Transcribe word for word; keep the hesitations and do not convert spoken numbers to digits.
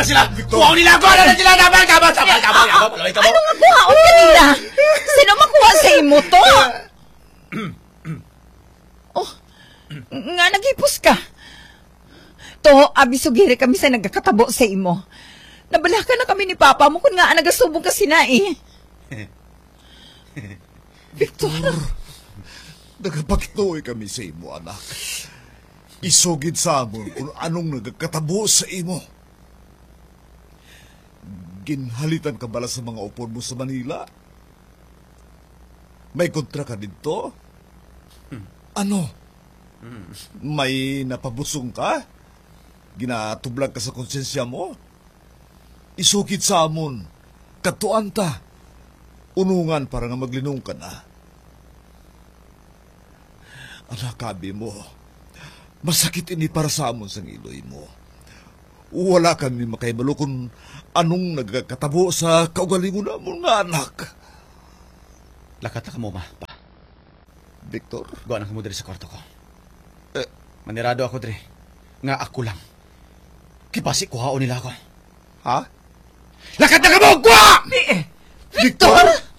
Sila! Kuhaon nila ako! Ano na sila? Dapat ka ba? Dapat ka ba? Dapat ka ba? Ano nga kuhaon ka nila? Sino makuha sa imo to? Oh, nga naghipos ka. To, abi, sugiri kami sa nagakatabo sa imo. Nabalaka na kami ni Papa mo kung nga nagasubong ka sina, eh. Victor! Nagapakituoy kami sa imo, anak. Isugid sa amon kung anong nagakatabo sa imo. Ginhalitan ka bala sa mga upod mo sa Manila? May kontra ka didto? Hmm. Ano? Hmm. May napabusong ka? Ginatublag ka sa konsyensya mo? Isugid sa amon. Kadtuan ta. Unungan para nga maglinong ka na. Anak, abi mo, masakit ini para sa amon sang iloy mo. Wala kami makahibalo kung anong nagakatabo sa kaugalingon namon nga anak. Lakat na kamo, ma, pa. Victor? Gwa na kamo diri sa kwarto ko. Eh. Manirado ako diri nga ako lang. Kipasi kuhaon nila ako. Ha? Lakat na kamo! Gwa! Di, eh, Victor! Victor!